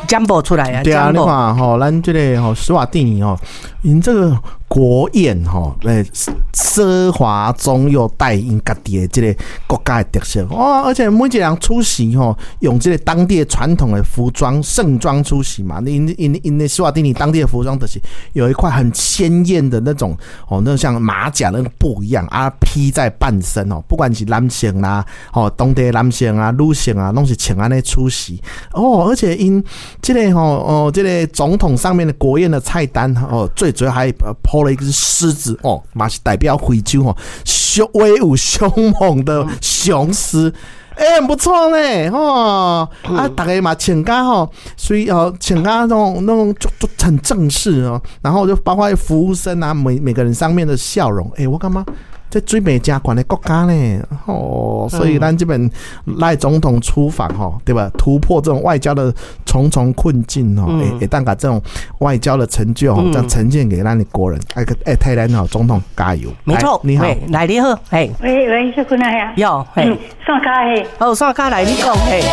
占卜出來啊！對啊，你看吼，咱這个吼史瓦蒂尼吼，𪜶這个國宴吼，欸，奢華中又帶𪜶家己的這个國家的特色哦，而且每一个人出席吼，用這个當地的傳統的服裝盛裝出席嘛。𪜶的史瓦蒂尼當地的服裝就是有一塊很鮮豔的那種哦，那像馬甲那個布一樣啊，披在半身哦，不管是男性啦，哦，當地的男性啊、女性啊，攏是穿按呢出席哦，而且𪜶這个吼哦，這个總統上面的國宴的菜單哦，最主要還鋪了一隻獅子哦，嘛是代表非洲哦，兇威武兇猛的雄獅。欸，很不錯呢，吼啊，逐家嘛穿甲吼，所以哦，穿甲那種就很正式哦，然後就包括服務生啊，每個人上面的笑容，欸，我感覺這水平誠懸的國家呢，哦，所以咱這邊賴總統出訪吼，對吧？突破這種外交的重重困境哦，會當共這種外交的成就吼，這樣呈現給咱的國人，哎，欸，替咱吼總統加油。沒錯，你好，來你好，嘿，喂喂，小姑娘呀，喲，嘿，上卡嘿，好，上卡來，你講，嘿，嘿。